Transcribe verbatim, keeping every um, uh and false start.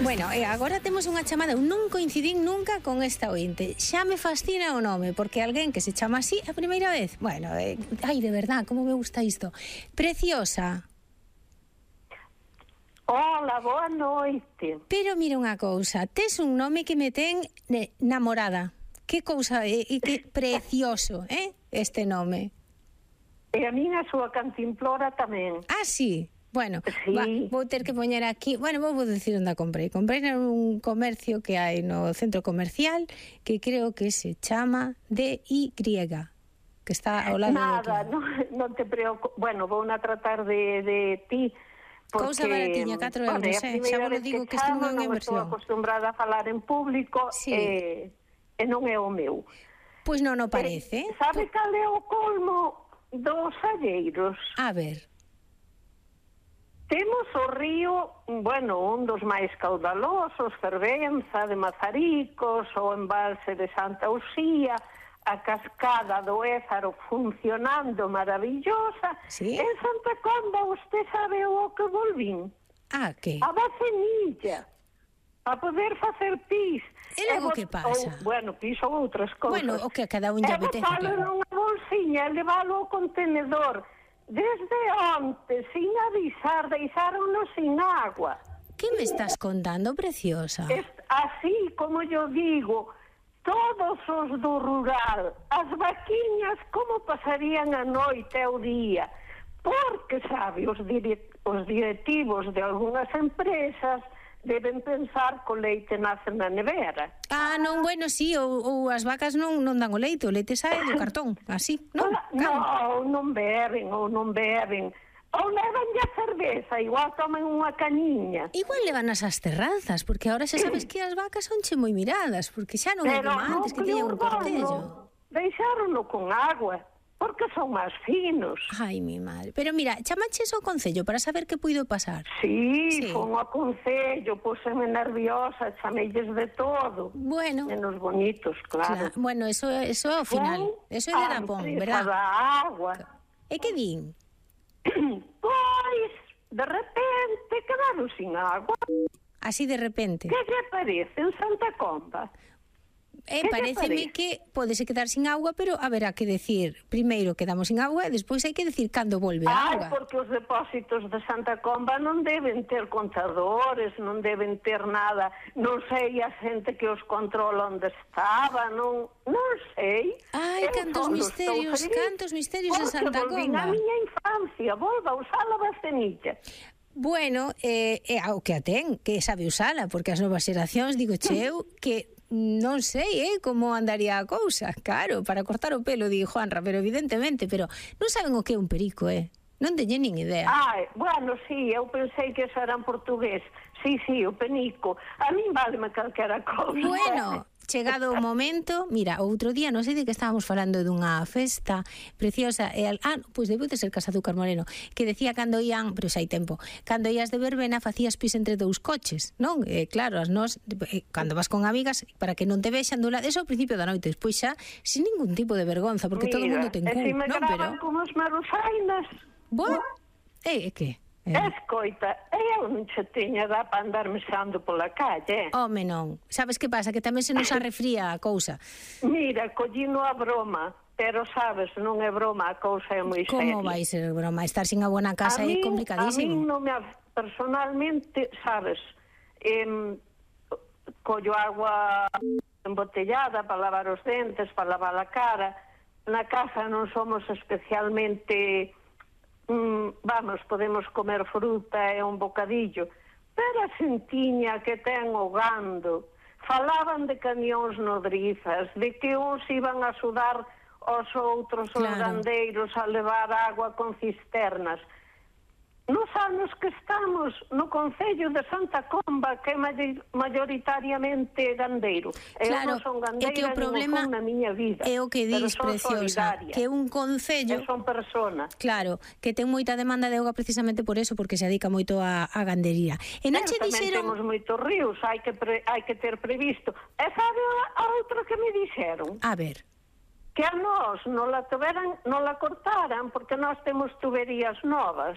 Bueno, e agora temos unha chamada. Eu non coincidín nunca con esta ointe. Xa me fascina o nome, porque alguén que se chama así a primeira vez. Bueno, eh, ai, de verdad, como me gusta isto. Preciosa. Hola, boa noite. Pero mira unha cousa, tes un nome que me ten eh, namorada. Que cousa, e eh, que precioso, eh, este nome. E a minha súa cantimplora tamén. Ah, sí. Bueno, sí. va, vou ter que poñer aquí. Bueno, vou decir onde a comprei. Comprei nun comercio que hai no centro comercial, que creo que se chama D Y, que está ao lado Nada, do non, non te preocupes. Bueno, vou a tratar de, de ti. Porque, cousa baratiña, catro euros, eh? Xa vos lo digo que, que isto non é unha inversión. Non estou acostumbrada a falar en público, sí. e, e non é o meu. Pois non o parece. Eh, sabe P cal é o colmo dos alleiros? A ver. Temos o río, bueno, un dos máis caudalosos, Fervenza, de Mazaricos, o embalse de Santa Uxía, a cascada do Ézaro funcionando maravillosa. ¿Sí? En Santa Comba, usted sabe o que volvín? Ah, que? A vacenilla, a poder facer pis. E logo que pasa? Ou, bueno, pis ou outras cousas. Bueno, o que a cada un lle apetece. E botalo nunha bolsiña, levalo ao contenedor. Desde onte, sin avisar, deixáronos sin agua. Que me estás contando, preciosa? Es, así como yo digo, todos os do rural, as vaquiñas, como pasarían a noite e o día? Porque, sabe, os, dire, os directivos de algunhas empresas deben pensar que o leite nace na nevera. Ah, non, bueno, sí, ou, ou as vacas non, non dan o leite, o leite sae do cartón, así, non? Non, non beben, ou non beben. Ou levan a cerveza, igual toman unha cañiña. Igual levan as terrazas, porque ahora xa sabes que as vacas son che moi miradas, porque xa non é como antes, que tiñan un cortello. Deixárono con agua, porque son máis finos. Ai, mi madre. Pero mira, chamaches ao concello para saber que puido pasar. Sí, sí. Fon ao concello, puseme nerviosa, chameilles de todo. Bueno. Menos bonitos, claro. claro. Bueno, eso, eso é ao final. Fon eso é de Dapón, verdad? Da agua. E que din? Pois, de repente, quedaron sin agua. Así de repente? Que lle parece en Santa Comba? Eh, pareceme que podese quedar sin agua, pero haberá que decir primeiro quedamos sin agua e despois hai que decir cando volve a agua. Ai, porque os depósitos de Santa Comba non deben ter contadores, non deben ter nada, non sei a xente que os controla onde estaba, non, non sei. Ai, cantos misterios, cantos misterios de Santa Comba. Porque volvín a miña infancia, volva a usar a vacenilla. Bueno, eh, eh, ao que a ten, que sabe usala, porque as novas xeracións, digo cheu, que non sei, eh, como andaría a cousa. Claro, para cortar o pelo, di Juanra, pero evidentemente, pero non saben o que é un perico, eh. Non teñen nin idea. Ai, bueno, sí, eu pensei que eso era en portugués. Sí, sí, o penico. A min váleme calquera cousa. Bueno, chegado o momento, mira, outro día, non sei de que estábamos falando dunha festa preciosa, e al, ah, pois debeu de ser Casa Azúcar Moreno, que decía cando ían, pero xa hai tempo, cando ías de verbena facías pis entre dous coches, non? Eh, claro, as nós, eh, cando vas con amigas, para que non te vexan do lado, eso ao principio da noite, despois xa, sin ningún tipo de vergonza, porque mira, todo o mundo ten cu, si me non? Pero como os marusainas. Bueno, e eh, que? Eh. Escoita, eu non che tiña dá para andar mexando pola calle. Home, non. Sabes que pasa? Que tamén se nos arrefría a cousa. Mira, collino a broma, pero sabes, non é broma, a cousa é moi seria. Como vai ser broma? Estar sin agua na casa é complicadísimo. A mí non me, personalmente, sabes, eh, collo agua embotellada para lavar os dentes, para lavar a cara. Na casa non somos especialmente... Mm, vamos, podemos comer fruta e un bocadillo, pero a xentiña que ten o gando, falaban de camións nodrizas, de que uns iban a sudar aos outros, claro, os gandeiros a levar agua con cisternas. Nos anos que estamos no Concello de Santa Comba, que é maioritariamente gandeiro. Claro, eu non son gandeira, é que o problema na miña vida, é o que dis, preciosa, que un concello... Que son persona. Claro, que ten moita demanda de auga precisamente por eso, porque se dedica moito a, a gandería. E non che dixeron... Temos moitos ríos, hai que, pre, hai que ter previsto. E sabe a outra que me dixeron? A ver... Que a nós non la, tuveran, non la cortaran, porque nós temos tuberías novas.